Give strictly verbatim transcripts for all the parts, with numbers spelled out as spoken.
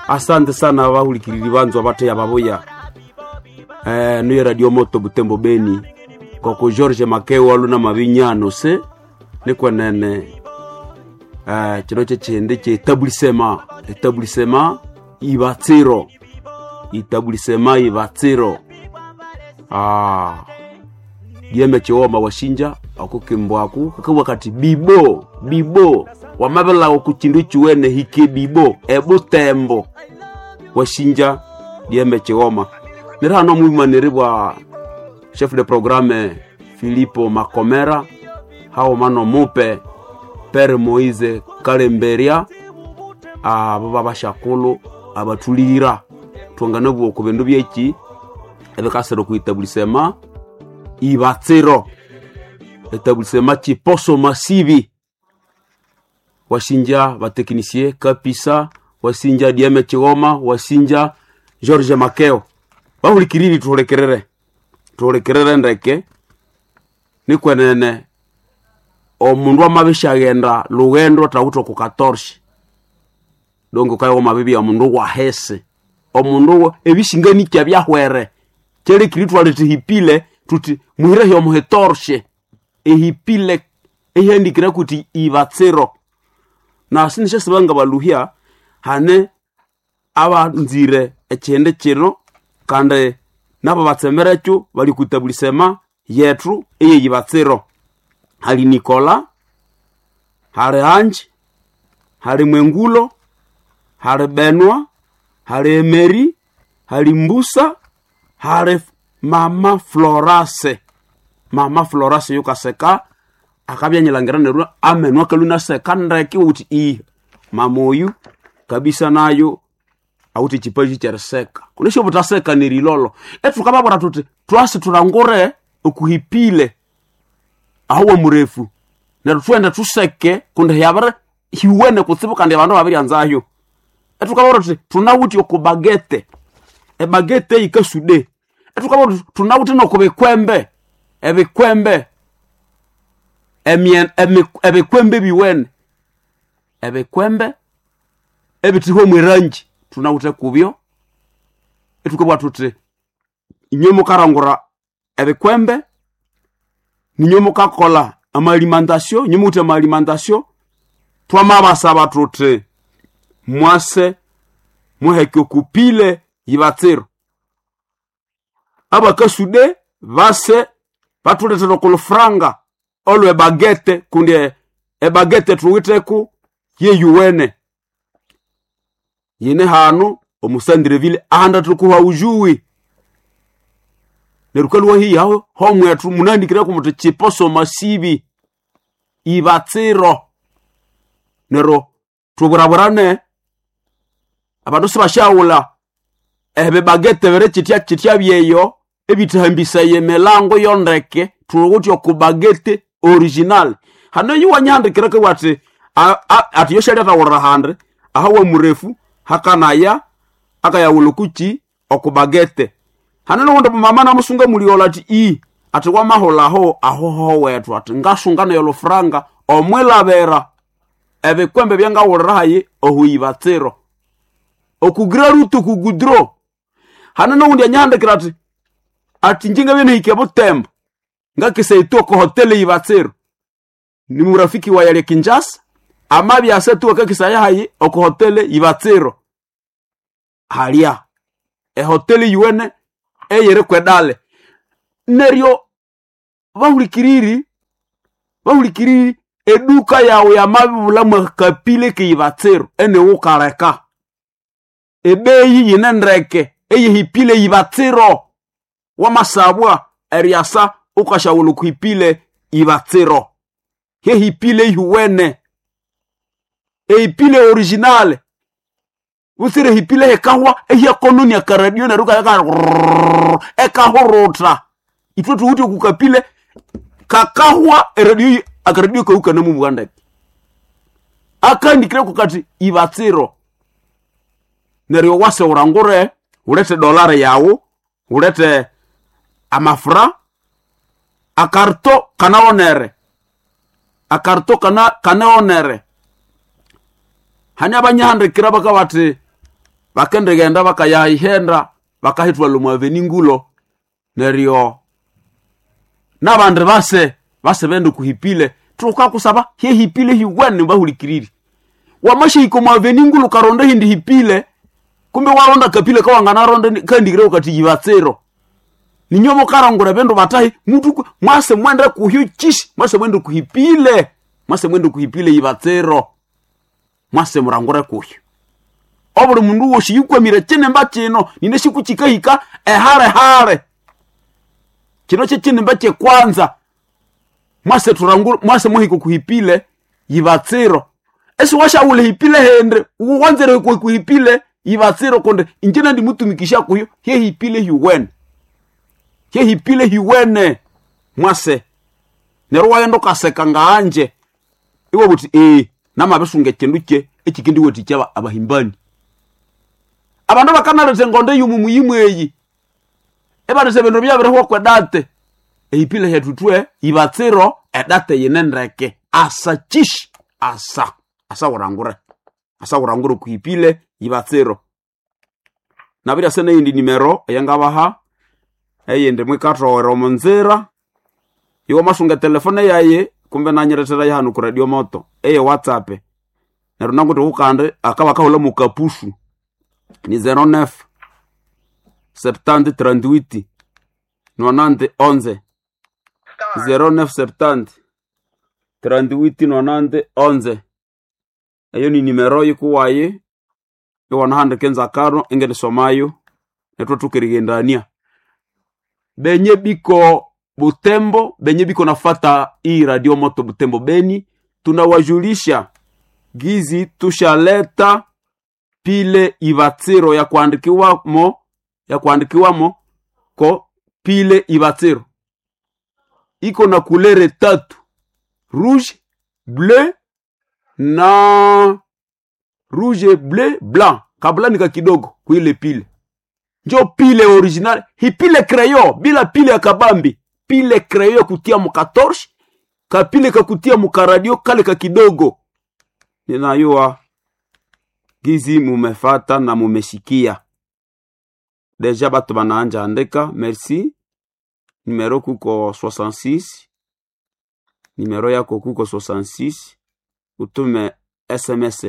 Asante sana bahulikiriri banzwa bateya babuya eh, niyo Radio Moto Butembo Beni koko George Makeo aluna mabinyano se nikwenene eh, kino kyekindi kyetabulisema etabulisema ibatsiro itabulisema ibatsiro ah, dieme chiwoma washinja akukimbwaku kakabwa kati bibo bibo wamabelawo ku chindu chiwene hike bibo ebutembo washinja dieme chiwoma nera hano mwimaniri bwa chef de programme Filipo Makomera hao mano mupe Pere Moise Kalemberia abo babashakulu abatulira twangana bwo ku bindu byeki ebikasira okuitabulisema ibatsiro etabulisema chiposo masibi wasinja bateknisie kapisa wasinja dieme chiwoma wasinja George Makeo bahulikiriri tuhulekerere tuhulekerere ndeke nikwenene omundu amabishaghenda lughendo atawithe oku katorshi donge ukayowa mabibi omundu wahese omundu ebishinganikya byahwere kyalekiri twaleta ehipile tuti muhirehi omuhetorshe ehipile ehiandikire kuti ibatsiro na sinishasibanga baluhya hane abanzire ekyindi kino kandi nabo batsemerekyo bali kwitabulisema yethu eyeyibatsiro hali Nikola hali Anji hali Mwengulo hali Benwa hali Emeri hali Mbusa hali mama Florase mama Florase yukaseka akabyanyilangira neryo amenu akalunaseka ndeke uti i mama oyu kabisa nayo awuthi chipaji kyeriseka kunesho butaseka nerilolo etukababwira tuti twasi tulangure okuhipile aho murefu neryo twende tuseke kundi yabere hiwene kutsibu kandi abandu babiryanzayo etukababwira tuti tunawuthi okubagete ebagete yikasude etukababwira tuti tunawuthi nokubikwembe ebikwembe emien- emi- ebikwembe biwene ebikwembe ebithihwa mwerangi tunawuthe kubyo etukabugha thuthi inywe mukarangura ebikwembe ninywe mukakola amaalimentation inywe muwithe amaalimentation twamabasaba thuthi mwase muheke okupile yibatsiro abakasude base bathulethere okulufuranga olwe bagete kundi e- ebagete thuwitheku yeyuwene yine hanu omusandreville ahanda thukuha ujuwi neryo kalwa hihi aho homwethu munandikireko muthi chiposo masibi ibatsiro neryo thuburaburane abandu sibashaghulha ebibagete biri kitya kitya byeyo ebithahambisaya emilango yondeke thuwithe okubagete original hano yiwanyihandikireko ati a- a- ati yoshalyathawulira handi ahawa murefu hakanaya akayawulha kuki okubagete hano nowundi mama namusunga muliola ati i ati wamahulaho ahoho wethu ati ngasunga nayo lufuranga omwilabira ebikwembe byangawulira hayi ohuibatsiro okugira rutu kugudro hano nowundi anyihandikira ati ati njingabye nihike butembo ngakisaitu oko hoteli ibatsiro ni murafiki wa yali Kinshasa amabya asetu akakisaya hayi oko hoteli ibatsiro halya ehoteli yuwene eyiri kwedale neryo bahulikiriri bahulikiriri eduka yawe yamabibula mwakapile keibatsiro enewukaleka ebeyi yine ndeke eyihipile ibatsiro wamasabwa eryasa ukashawula okuhipile ibatsiro hehipile ihuwene ehipile originale usire hipile hekahwa ehyakononia karadio neryo kayaka ekahuruta ithwe thuwithe okukapile kakahwa eradio akaradio kaukana mubugandeke akandikire kukati ibatsiro neryo wase urangure ulete dolari yawu ulete amafura akarto kanaonere akarto kana kanaonere hani abanyahandikira bakabati Bakendighenda bakayihenda bakahithwala omu aveni ngulo. Neryo n'abandi base base bende kuhipile tukakusaba hyehipile hiwene bahulikiriri. Wamashihika omu aveni ngulo ukaronda ehindi hipile, kumbe waronda kapile kawanganaronda kandigire kati yibatsiro. Ninyo mukarangura ebindu batahi mutu mwase mwende kuhyo chishi, mwase mwende kuhipile, mwase mwende kuhipile yibatsiro. Mwase murangure kuhyo. Obuli mundu wosi yukwamire chinemba chino nine siku chikahika ehare hare. Chino che chinemba che kwanza. Mwase turangure mwase muhiko kuhipile yibatsiro. Esi washaule hipile hende uwanzere kuhipile yibatsiro konde injena ndi mutumikisha kuyo he hipile hiwene. He hipile hiwene mwase. Nero wagenda ukaseka ngaanje. Iwe buti eh namabisunga ekindu kye ekikindi wetikya abahimbani. Abandu bakanaleta engondo yumu muyimu eyi. Ebaleta ebindu byabirihwa kwedate. Ehipile hetutwe ibatsiro edate yinendeke. Asa chishi asa. Asa urangure. Asa urangure kuhipile ibatsiro. Nabirya sene yindi nimero eyangabaha. Eyindi mwikatowera omunzira. Iwe masunga telefone yaye kumbe nanyiretera yahanu ku radio moto. Eye WhatsApp. Neryo nanguti ukande akaba kahula mukapushu. Ni zero neuf septante trente-huit nonante onze. Zero neuf septante trente-huit nonante onze. Eyo ni nimero yikuwaye iwanahandika enzakaro ingenisomayo netwe tukirigendania. Benye biko Butembo, benye biko nafata hii radio moto Butembo Beni, tunawajulisha gizi tushaleta pile ibatsiro ya kuandikiwamo, ya kuandikiwamo ko pile ibatsiro iko na kulere tatu, rouge, bleu na rouge, bleu, blanc. Kabla nika kidogo kuile pile njo pile original, hipile crayon bila pile ya kabambi, pile crayon kutia mu katorche, kapile kakutia mu karadio kale ka kidogo. Ninayua gizi mumefata na mumeshikia deja, batu banaanja andika merci. Numero kuko soixante-six, numero yako kuko soixante-six, utume S M S.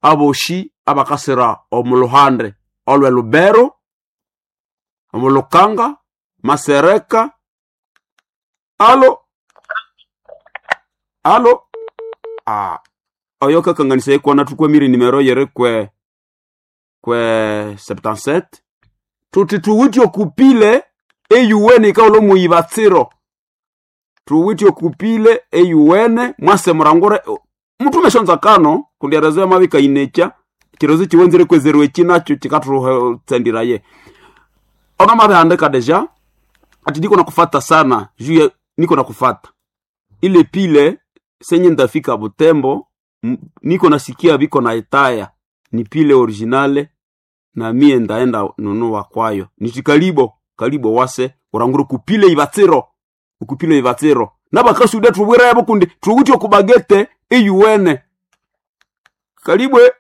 Aboshi abakasira omuluhande olwe Lubero, omulukanga Masereka. Alo alo ah oyo kakanganisa ikwana tukwemire nimero yere kwe kwe septante-sept tuti tuwityo kupile eyuwene ikaulo muyibatsiro tuwityo kupile eyuwene mwase murangure mutume shonza kano kundi arazo mabika inecha kirozo chiwenzere kwezerwe chinacho chikaturuhe ona mabe andika deja ati niko nakufata sana juu niko nakufata ile pile senye ndafika Butembo niko nasikia biko na etaya ni pile originale na mie ndaenda nunua kwayo nitikalibo kalibo wase uranguru kupile ibatsiro ukupile ibatsiro nabakasuda tubwira yabo kundi tuwutyo kubagete eyuwene kalibwe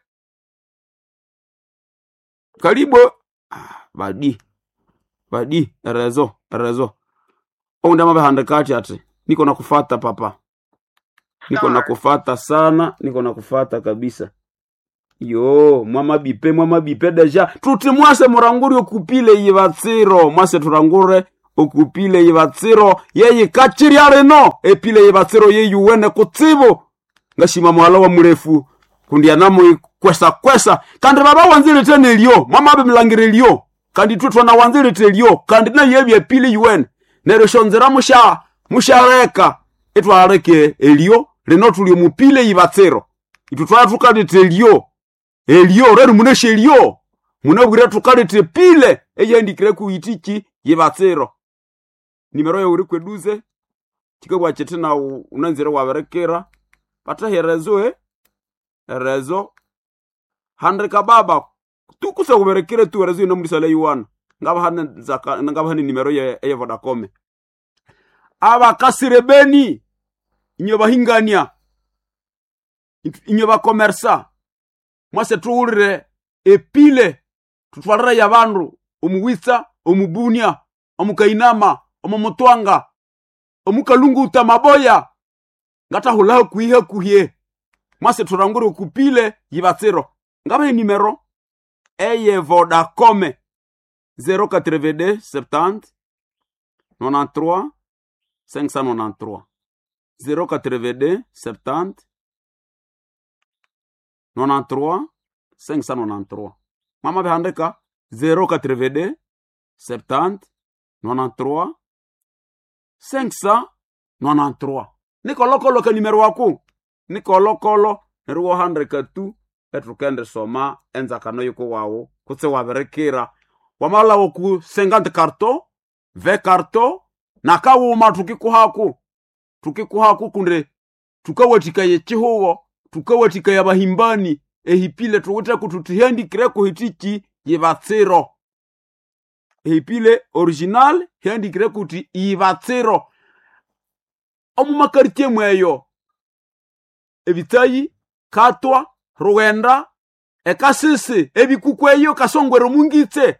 kalibo ah, badi badi rezo rezo onda mabehandikati ati niko nakufata papa niko nakufata sana niko nakufata kabisa yo mwama bipe mwama bipe deja tuti mwase murangure okupile yibatsiro mwase turangure okupile yibatsiro yeyi kachirya rino epile yibatsiro yeyuwene kutsibu ngashima mwala wa murefu kundi anamu kwesa kwesa kandi baba wanzire tene elyo mwama abe mlangire elyo kandi twe twana wanzire telyo kandi na yebye pile yuwene neryo shonzera musha mushareka etwareke elyo rino tuli mupile yibatsiro itu twatukalete elyo elyo rero muneshe elyo munabwira tukalete pile eyandikire kuitiki yibatsiro nimero yawe uri kweduze chikabwa chete na unanzire waberekera pataherezo eh rezo handika baba tukusa kuberekere tu rezo ino mulisale yuwana ngaba hane zaka ngaba hane nimero ye ye Vodacom abakasire beni inyo bahingania inyo bakomersa mwase tuwulire Epile tutwalire ya bandu omuwitsa, omubunia, omukainama, omumutwanga, omukalunguta maboya ngatahula hakuhi hakuhye mwase turangure okupile yibatsiro. Ngabahe nimero eye Vodacom zero quatre-vingt-deux septante nonante-trois cinq cent nonante-trois zero quatre-vingt-deux septante nonante-trois cinq cent nonante-trois. Mama bihandika zero quatre-vingt-deux septante nonante-trois cinq cent nonante-trois. Nikolokolo ka nimero wako nikolokolo neryo wahandika tu etukende soma enzakano yuko wawo kutse wabirikira wamalawo ku cinquante carton vingt carton nakawuma tukikuhaku tukikuhaku kunde tukawathikaya ekihugo tukawathikaya abahimbani ehipile tuwitheko tuthihandikireko hitiki yibatsiro. Ehipile original hiandikireko uthi ibatsiro. Omu makartie mweyo ebitsayi katwa rughenda ekasisi ebikuku eyo kasongwere omungitse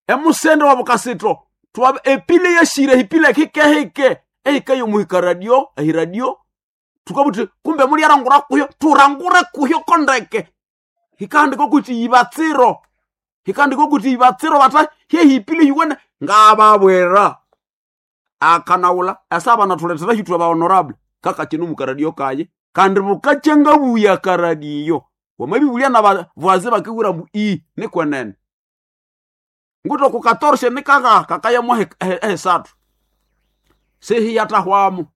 emusende wabukasito twa epile yashire hipile hikehike ehikayo muhika radio ehiradio tukabuti kumbe mulyarangura kuyo turangure kuyo kondeke hikahandika kuti yibatsiro hikahandika kuti yibatsiro bata hyehipile hiwene ngababwera akanawula asa natuletera hitwe ba honorable kaka kino mukaradio kaye kandi bukachenga buya karadiyo wamabibulia na bavaze bakigura mu i nikwenene nguto ku quatorze nikaga kakaya mwa hesatu sehi yatahwamu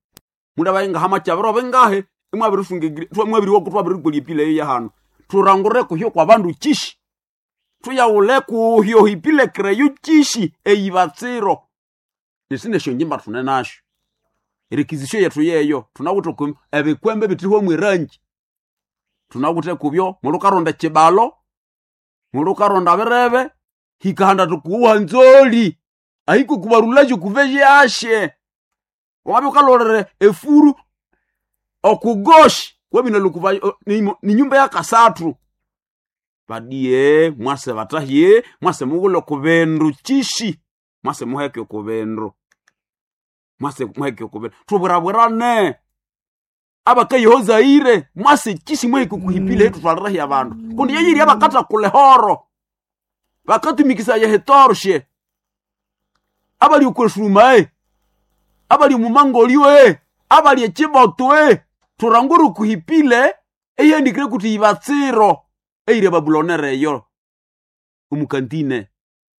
munda bayinga hama chabiro bengahe imwabirifunge mwabiri wokutwa birigulipile ya hano turangure kuhyo kwa bandu chishi tuyawule kuhyo hipile kreyo chishi eyibatsiro nisine shonjimba tune nasho erikizisho yetu yeyo tunawuthe ku ebikwembe bitiriho mwirangi tunawuthe kubyo mulukaronda chibalo mulukaronda birebe hikahanda tukuwa nzoli ahiko kubarulaje kuveje ashe wabe ukalolere efuru okugoshi wabina lukuva ni, ni nyumba ya kasatu badie mwase batahie mwase mugulo kubendu chishi mwase muheke kubendu mwase muheke kubendu tubwirabwirane abakayehozaire mwase chishi muheke kuhipile hetu twalirahi abandu kundi yeyiri abakata kulehoro bakatumikisa yehetorshe abali okwesuma e abali mumangolio e abali echiboto e turanguru kuhipile eyihandikire kuti yibatsiro eyiri babulonere eyo omukantine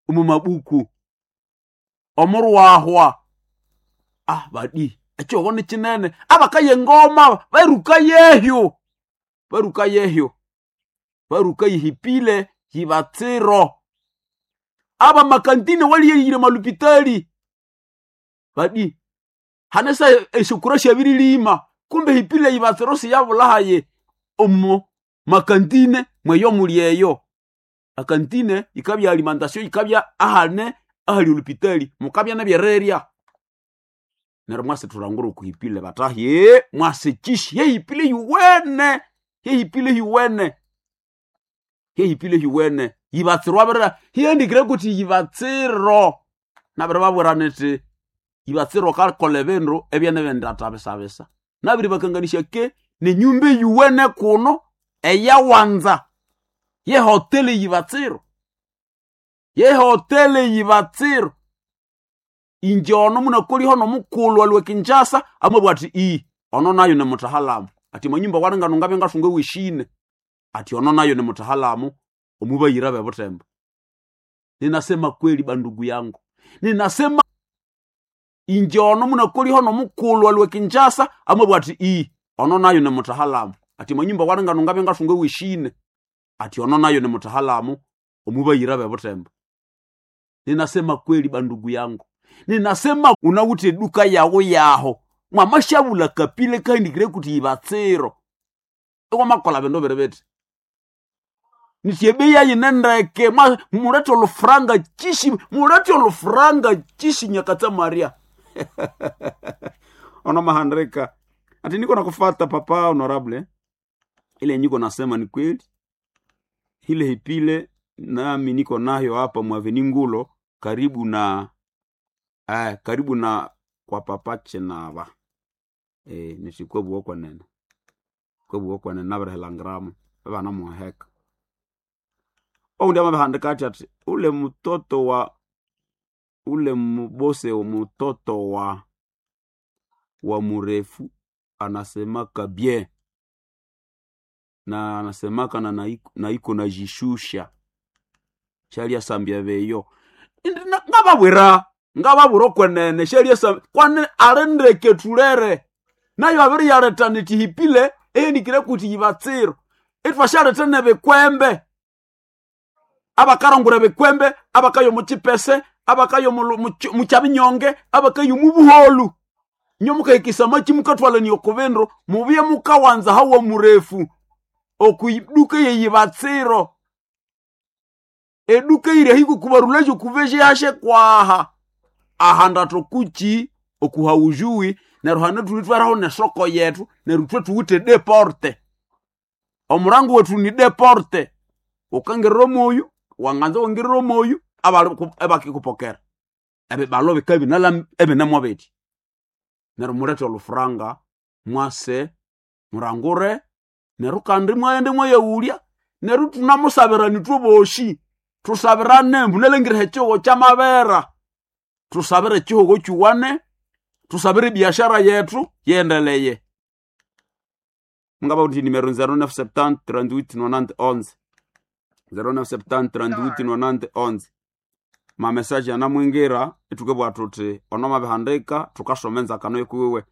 omumabuku omurwahwa ah badi ekyogo ni kinene abakaye ngoma baruka yehyo baruka yehyo baruka yihipile yibatsiro aba makantine waliyeyire malupitali badi hanesa eshukura shabirilima kumbe hipile yibatsiro siyabulahaye omo makantine mweyo mulyeyo akantine ikabya alimentation ikabya ahane ahali olupitali mukabya nebyererya neryo mwase turangura okuhipile batahye mwase chishi yehipile yuwene yehipile yuwene yehipile yuwene yibatsiro abirira hiandikire kuti yibatsiro nabiri babwira niti yibatsiro kakola ebindu ebyene bindatabisabisa nabiri bakanganisya ke nenyumba eyuwene kuno eyawanza yehoteli yibatsiro yehoteli yibatsiro inje ono munakoliho nomukulhu alwe Kinshasa amabwa ati i ono nayo ni mutahalamu ati manyumba waringano ngabya ngathunga weshine ati ono nayo ni mutahalamu omubayira bebutembo. Ninasema kweli bandugu yangu, ninasema inje ono munakoliho nomukulhu alwe Kinshasa amabwa ati i ono nayo ni mutahalamu ati manyumba waringano ngabya ngathunga weshine ati ono nayo ni mutahalamu omubayira bebutembo. Ninasema kweli bandugu yangu, ninasema unawuthe duka yawo yaho mwamashavula kapile kaindikire kuti ibatsiro iwamakola bindu biri biti nityebeya yinendeke mulete olufuranga chishi mulete olufuranga chishi nyakatsa Maria ono mahandrika ati niko nakufata papa honorable ile niko nasema ni kweli Hile hipile nami niko nayo hapa mwaveni Ngulo karibu na eh, karibu na kwa papa Chinaba eh, nisikwebwa kwenene kwebwa kwenene nabirihelangiramo banamuheka oundi amabihandika ati ati ule mtoto wa ule mbose mtoto wa wa murefu anasemaka bien na anasemaka na naiko, na iko najishusha shalia sambia beyo ngababwira ngababwira okwenene shalia sambia kwane arendeke tulere nayo abiri yareta nitihipile enikire kuti yibatsiro itwashareta nebikwembe abakarongora bikwembe abakayo muchipese abakayo muchabinyonge abakayo mubuholu nyo mukahikisa machi mukatwalani okubindu mubye mukawanza hawa murefu okuiduka yeyibatsiro eduka iri hiko kubarulejo kuveje yashe kwaha ahanda tokuchi okuhaujui neryo hane tulitweraho nesoko yetu neryo thwe tuwite deporte omurango wetu ni deporte ukangirira omoyu wanganza wangirira omoyu abakikupokera ebibalo bikabinala ebinamwa biti neryo mulete olufuranga mwase murangure neryo kandi mwaghende mwayaghulya neryo tunamusabirana ithwe bosi tusabirane mbunalengire ekihugo kyamabera tusabire ekihugo kiwane tusabire ebiashara yethu yendeleye mungaba uthi nimero zero nine seven trente-huit nonante onze zero nine seven trente-huit nonante onze mamesaje anamwingira itukebwa tuthi ono mabihandika tukasoma enzakano ikuwiwe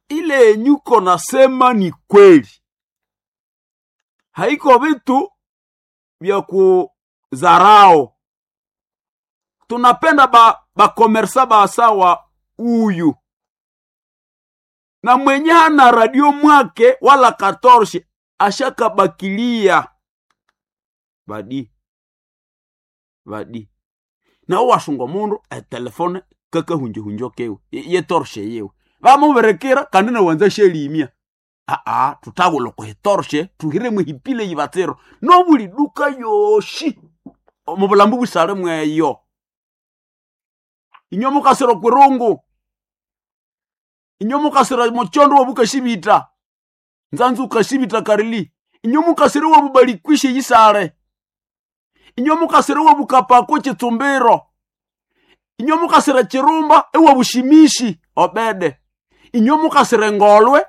ile enyuko nasema ni kweli haiko vitu vya kuzarao tunapenda ba bakomersa basawa uyu na mwenye hana radio mwake wala katorshi ashakabakilia badi badi nawo wasunga mundu etelefone kakahunjehunjo kewe yetorshe yewe vamuberekera kandi nawanza shelimia aa tutagula kuhitorshe tuhiremu hipile yibatsiro nobuli duka yoshi mubulambu busale mweyo inyo mukasira kwirungu inyo mukasira muchondo wabukashibita nzanzu ukashibita karili inyo mukasira wabubalikwishe yisale inyo mukasira wabukapako chitsumbiro inyo mukasira chirumba ewabushimishi obede inyo mukasira engolwe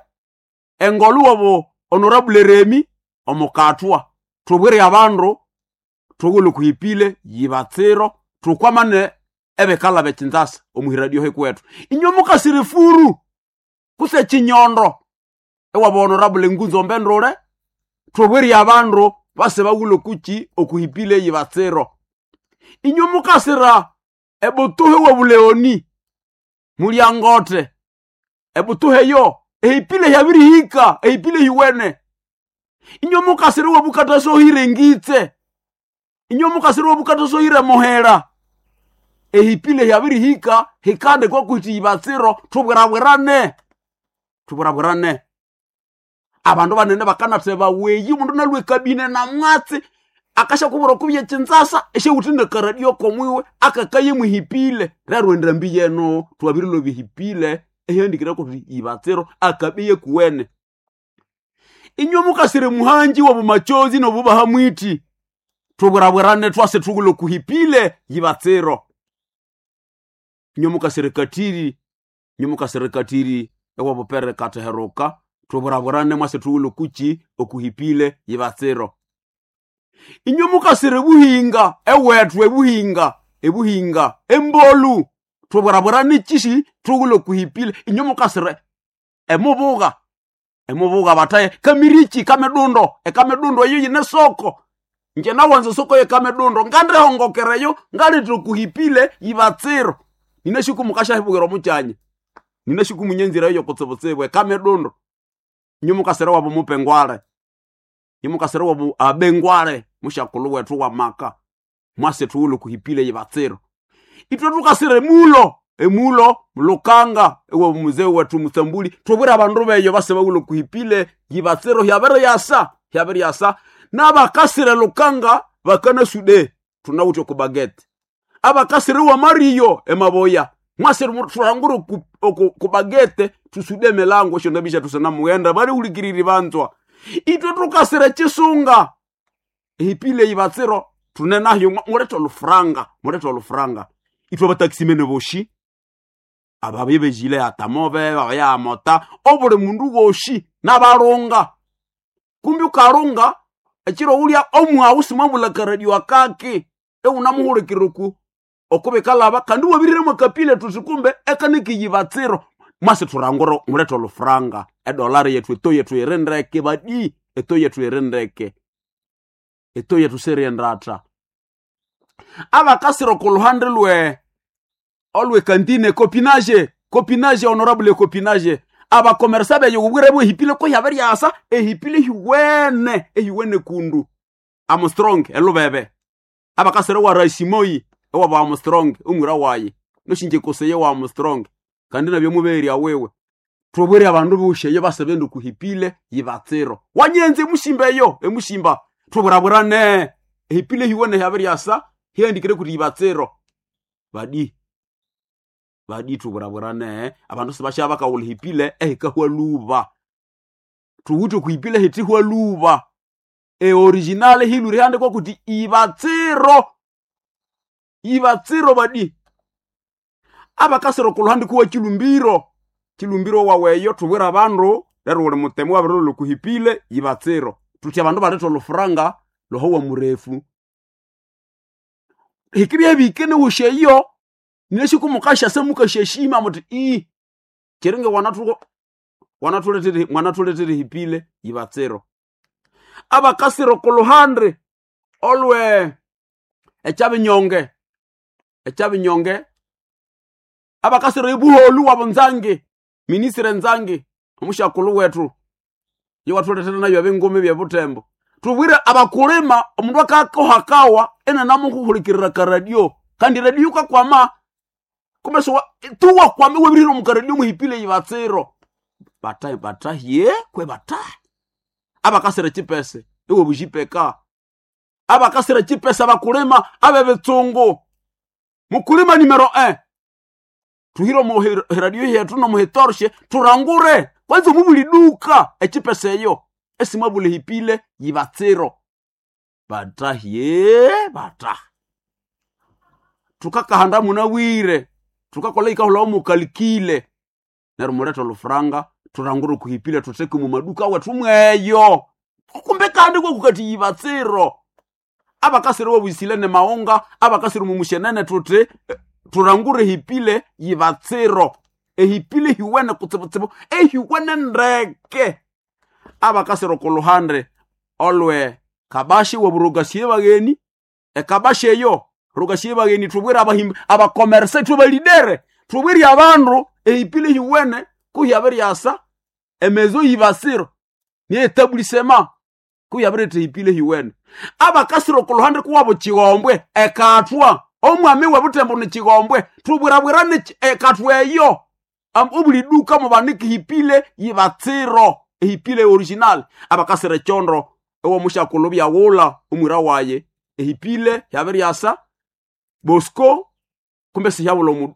engolwe wabo honorable Remi omukatwa tubwire abandu tugule kuhipile yibatsiro tukwamane ebekala bekinzasa omuhiradio hekwetu inyo mukasira furu kuse chinyondo ewabo honorable Ngunzo Mbendule tubwire abandu base bagule kuchi okuhipile yibatsiro inyo mukasira ebutuhe wabuleoni mulyangote ebutuhe yo ehipile hyabirihika ehipile hiwene inyo mukasira wabukatasohire ngitse inyo mukasira wabukatasohire muhera ehipile hyabirihika hikande kwakuti yibatsiro tubwirabwirane tubwirabwirane abandu banene bakanatheba weyi omundu nalwa ekabine namwatsi akashakubura okubya ekinzasa esyawuthi nakaradio komwiwe akakaye muhipile rero endambi yeno twabirilobya ehipile ehyandikire kuti ibatsiro akabiye kuwene inywe mukasire muhanji wabumachozi nobubaha mwiti tubwirabwirane twase tugulo kuhipile yibatsiro inywe mukasire katiri inywe mukasire katiri ewabupere kateheruka tubwirabwirane mwase tugulo kuchi okuhipile yibatsiro inywe mukasire buhinga ewethu ebuhinga ebuhinga embolu tubwirabwirane chishi tugulo kuhipile inywe mukasire emubuga emubuga bataye kamirichi kamedundo ekamedundo eyo yine soko nje nawanza soko yekamedundo ngandihongokereyo ngalithira kuhipile yibatsiro ninashiku mukashahibukira omukyanya ninashiku munyenzira eyo kutsibutsibu ekamedundo inywe mukasire wabo mupengwale inywe mukasire wabo abengwale mushakulu wethu wa maka mwase tuwulo kuhipile yibatsiro itwe tukasire emulo emulo mulukanga ewa muzee wetu musambuli tubwire abandu beyo base bawulo kuhipile yibatsiro hyabere yasa hyabere yasa N'abakasire lukanga bakana sude tunawuthe ku bagete. Abakasire wa Mario emaboya mwasire turangure ku, ku, ku bagete tusude milango esyo ndabisha tusana mughenda bali hulikiriri banzwa. Itwe tukasire chisunga ehipile ibatsiro tunenahyo mulethe olufuranga mulethe olufuranga. Itwe abatakisimene boshi ababebejile atamove babayamota obuli mundu woshi n'abalunga kumbi ukalunga ekiro ulya omwawu simwabula karadio akaki eunamuhulikiriku okubikalaba kandi wabiriremo akapile tuti kumbe ekanikiyibatsiro mwasi turangura mulethe olufuranga edolari yethu eto yethu irindeke badi eto yethu irindeke eto yethu siriendata. Abakasira okuluhande lwe olwe kantine copinage copinage honorable copinage abakomersa beyo ubwire bwe hipile ko yaberyasa ehipile hiwene ehiwene kundu Armstrong elubebe abakasira wa Rasimoi ewa ba Armstrong umwira waye noshinje koseye wa Armstrong kandi nabyo muberi awewe tubwire abandu busheye basebende kuhipile yibatsiro wanyenze mushimba eyo emushimba tuburaburane ehipile hiwene yaberyasa hiandikire kuti yibatsiro badi badi tuburaburane abandu sibasha bakawula hipile ehikahwa luba tuwute kuhipile hitihwa luba e original hiluri handikwa kuti ibatsiro ibatsiro badi. Abakasiro kuluhandi kuwa chilumbiro chilumbiro waweyo tubwira abandu lero uli mutemu wabirilo kuhipile ibatsiro tuti abandu baletha olufuranga lohowa murefu hikirye bikene wusheyo neshikumukasha semukasheshima muti i chiringe wanatu wanatuletere mwanatuletere hipile ibatsiro. Abakasiro kuluhande olwe ekyabinyonge ekyabinyonge abakasiro ibuholu wabo nzange ministre nzange omushakulu wetu yewatuletera nayo abengome bya butembo tubwire abakulima omundu akakohakawa ena namuhuhulikirira karadio kandi radio kakwama kumeso tuwa kwame webiriro mukaradio muhipile ibatsiro bata batahye kwe bata abakasira chipese iwe bujipeka abakasira chipesa abakulima abebetsungu mukulima numero un tuhiro mu radio yetu no muhitorshe turangure kwanza mubuli duka echipesa eyo esimwabule hipile yibatsiro batahye bata tukakahanda munawire tukakola ikahula omukalikile neryo mulethe olufuranga turangure kuhipile tutheke mu maduka wethu mweyo kumbe kandi kwekukati yibatsiro abakasiri wobwisile ne maunga abakasiri mumushenene tuti turangure hipile yibatsiro ehipile hiwene kutsibutsibu ehiwene ndeke. Abakasiri kuluhande olwe kabashi weburugasiye bageni ekabashi eyo rugasiye bageni tubwire abahimbi abakomerse tubalidere tubwire abandu ehipile hiwene kuhyabiryasa emezo yibasiro ni etablissement kuyabirete hipile hiwene. Abakasiro kuluhande kuwabo chigombwe ekatwa omwami webutembo ni chigombwe tubwirabwirane ekatwa eyo obuli duka mubaniki hipile yibatsiro ehipile original. Abakasire chondro ewo mushakulu byawula omwira waye ehipile yabiryasa Bosco kumbe siyabula mu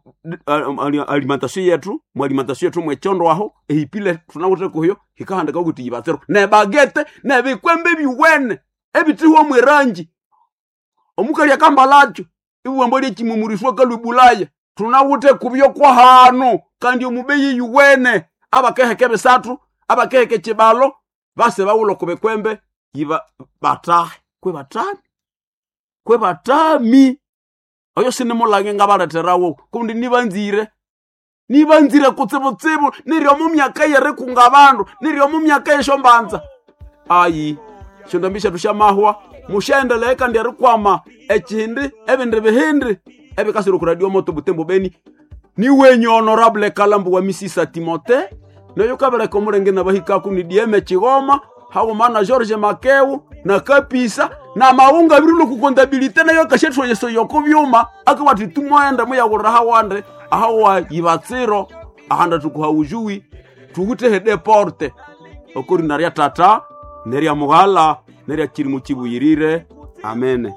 alimentation yetu mu alimentation yetu mwechondo aho ehipile tunawute kuhyo hikahandika kuti yibatsiro ne bagete ne bikwembe biwene ebitiho mwerangi omukali akambalacho iwambo lyekimumurishwa kalubulaya tunawute kubyo kwa hanu kandi omubeyi yuwene abakeheke bisatu abakeheke chibalo base bawulo kubikwembe yiba batahe kwe batami kwe batami oyo sinimulange ngabaleterawo kundi nibanzire nibanzire kutsibutsibu niryo mu myaka yerikunga abandu niryo mu myaka yeshombanza ayi shondambisha tushamahwa mushaendelea kandi erikwama ekihindi ebindi bihindi ebikasira ku radio moto butembo beni niwenye honorable Kalambu wa Misisa Timote noyo kabereka omulenge nabahikaku ni D M Chigoma hauma na George Makeu na Kapisa na maunga birulo ku contabilité nayo kashetwa yeso yoko byuma akabati tumwenda muyagurira hawande ahawa yibatsiro ahanda tukuha ujui tugutehe deporte okori narya tata Nerya mughala nerya kirimo kibuyirire. Amene.